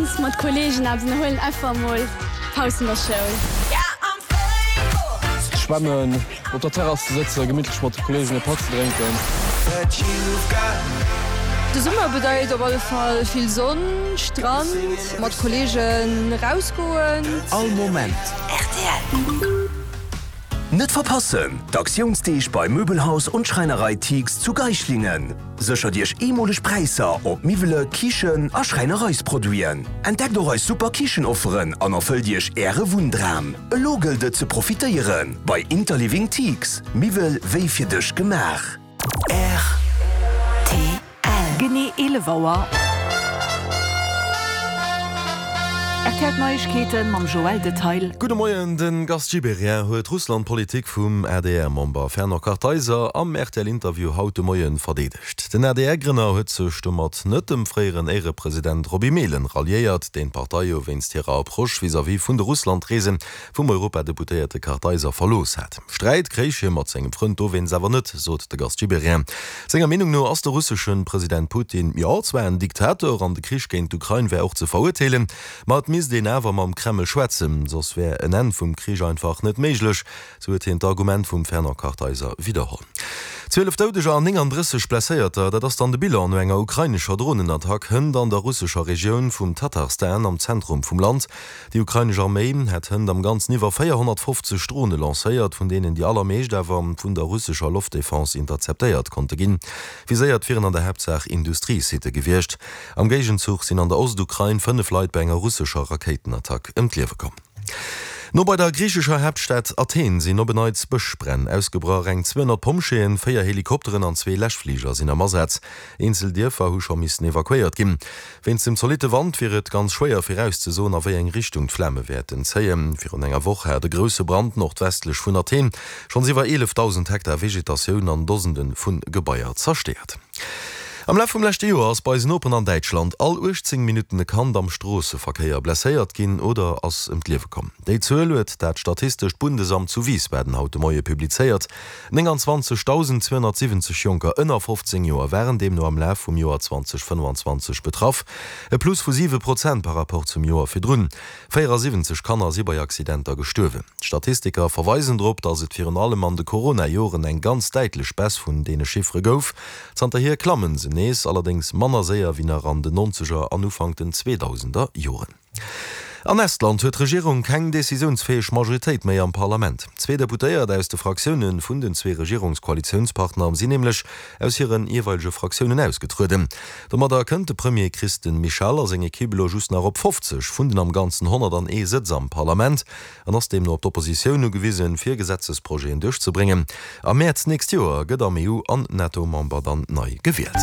Meeschtens mat Kollegen eppes ënnerhuelen, einfach emol Paus vun der Schoul. Schwämmen, op der Terrass ze sëtzen, gemittlech mat de Kollegen e Patt ze drénken. De Summer bedeit op alle Fall vill Sonn, Strand, mat Kollegen erausgoen. All Moment rtl. Net verpassen, D'Aktiounsdeeg bei Möbelhaus und Schreinerei Thiegs zu Geislingen. Séchert Iech eemoleg Präisser op Miwwele, Kichen a Schräinereisproduiten. Entdeckt och eis super Kichenofferen an erfëllt Iech Äre Wunndram. Elo gëllt et ze profitéieren bei Interliving Thiegs, Miwwel wéi fir dech gemaach. Rtl. Genee 11 Auer. Rtl Neiegkeeten mam Joël Detail. Gudde Moien, De Gast Gibéryen huet d'Russland-Politik vum ADR-Member Fernand Kartheiser am RTL-Interview haut de Moien verdeedegt. Den ADR-Grënner huet sech domat net dem fréieren Éierepresident Roby Mehlen ralliéiert, deen d'Partei jo wéinst hirer Approche vis-à-vis vun de Russland-Reese vum Europadeputéierte Kartheiser verlooss hat. Sträit kréich hie mat sengem Frënd dowéinst awer net, sot de Gast Gibéryen. Senger Meenung no ass de russesche President Putin jo zwar en Diktator an de Krich géint d'Ukrain wär och ze verurteelen, ma et misst een awer mam Kreml schwätzen, soss wär en Enn vum Krich einfach net méiglech, sou huet hien d'Argument vum Fernand Kartheiser widderholl. 12 Doudeger an 39 Blesséierter, dat ass dann de Bilan no enger ukrainescher Dronenattack hënt an der russescher Regioun vum Tatarstan am Zentrum vum Land. Déi ukrainesch Arméi hätt hënt am Ganzen iwwer 450 Drone lancéiert, vun deenen déi allermeescht awer vun der russescher Loftdefense interzeptéiert konnte ginn. Viséiert wieren an der Haaptsaach Industriesitte gewiescht. Am Géigenzuch sinn an der Ostukrain 5 Leit bei enger russescher Rakéitenattack ëm d'Liewe komm. No bei der griichescher Haaptstad Athen sinn op en Neits Bëschbränn ausgebrach. Eng 200 Pompjeeën, 4 Helikopteren an zwee Läschfliger sinn am Asaz. Eenzel Dierfer hu scho missen evakuéiert ginn. Wéinst dem zolitte Wand wier et ganz schwéier virauszesoen, a wéi eng Richtung d'Flame wäerten zéien. Virun enger Woch hat e grousse Brand nordwestlech vun Athen schonns iwwer 11.000 Hektar Vegetatioun an Dosende vu Gebaier zerstéiert. Am Laf vum leschte Joer ass bei eisen Noperen an Däitschland all 18 Minutten e Kand am Stroosseverkéier blesséiert ginn oder ass ëm d'Liewe komm. Déi Zuel huet dat statistescht Bundesamt zu Wiesbaden haut de Moie publizéiert. 29.270 Jonker ënner 15 Joer waren deemno am Laf vum Joer 2025 betraff, e Plus vu 7 Prozent par Rapport zum Joer virdrun. 74 Kanner si bei Accidenter gestuerwen. D'Statistiker verweisen drop, datt et virun allem an de Corona-Joren eng ganz däitlech Baisse vun deene Chiffere gouf. Zanterhier klammen se nees, allerdéngs manner séier wéi nach an den Nonzeger an Ufank den Zweedausender Joren. An Estland huet d'Regierung keng decisiounsfäeg Majoritéit méi am Parlament. Zwee Deputéiert aus de Fraktioune vun den zwee Regierungskoalitiounspartner sinn nämlech aus hire jeeweilege Fraktiounen ausgetrueden. Domadder kënnt de Premier Kristen Michal a seng Ekipp elo just nach op 50 vun den am Ganzen 101 Sëtz am Parlament. an ass deemno op d'Oppositioun ugewisen, fir Gesetzesprojeten duerchzebréngen. Am Mäerz d'nächst Joer gëtt am EU an NATO-Member dann nei gewielt.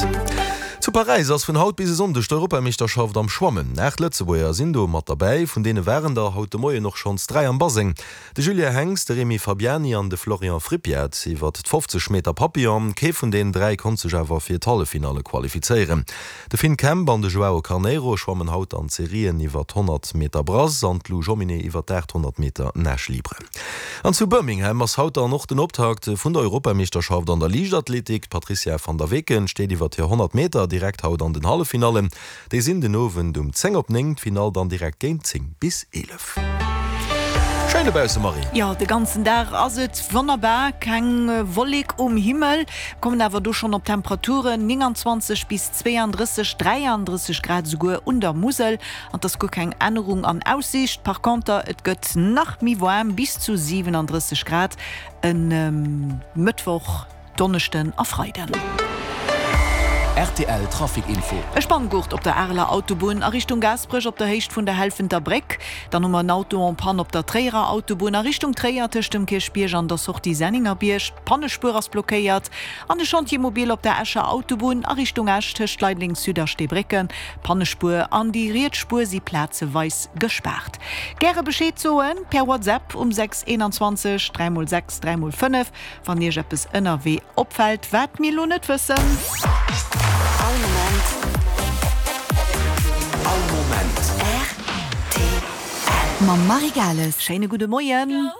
Zu Paräis ass vun haut bis e Sonndeg d'Europameeschterschaft am Schwammen. 8 Lëtzebuerger sinn do mat derbäi, vun deene waren der haut de Moien och schonns 3 am Baseng. De Julien Henx, de Rémi Fabiani an de Florian Frippiat iwwert d' 50 Meter Papillon. Kee vun deenen 3 konnt sech awer fir d'Halleffinalle qualifizéieren. De Finn Kemp an de Joao Carneiro schwammen haut an d'Serien iwwer d'100 Meter Brass an d'Lou Jomminet iwwer d'800 Meter Nage libre. An zu Birmingham ass haut dann och den Optakt vun der Europameeschterschaft an der Liichtathletik. D'Patrizia van der Weken steet iwwer hir 100 Meter direkt haut an den Halleffinallen. Déi sinn den Owend um 10 op 9, d'Finall dann direkt géint 10 bis 11. Schéin dobausse Marie! Jo, de ganzen Dag ass et wonnerbar, keng Wollek um Himmel. Kommen awer do schonn op Temperaturen 29 bis 32, 33 Grad esouguer un der Musel an 't ass guer keng Ännerung an Aussiicht. Par conter, et gëtt nach méi waarm, bis zu 37 Grad e Mëttwoch, Donneschden a Freiden. Rtl Trafic Info. E Spanngurt op der Areler Autobunn a Richtung Gaasperech op der Héicht vun der Helfenter Bréck. Dann hu mer en Auto en panne op der Tréierer Autobunn a Richtung Tréier tëscht dem Kierchbierg an der Sortie Senningerbierg. D'Pannespuer ass blockéiert an de Chantier mobile op der Escher Autobunn a Richtung Esch tëscht Leideleng Sud a Steebrécken. D'Pannespuer an déi riets Spuer si plazeweis gespaart. Gäre Bescheed soen per WhatsApp um 6 21 3 x 6 3 x 5, wann Iech eppes ënnerwee opfält, wat mir elo net wëssen. All Moment. All Moment. Rtl. Mam Marie Gales. Schéine gudde Moien.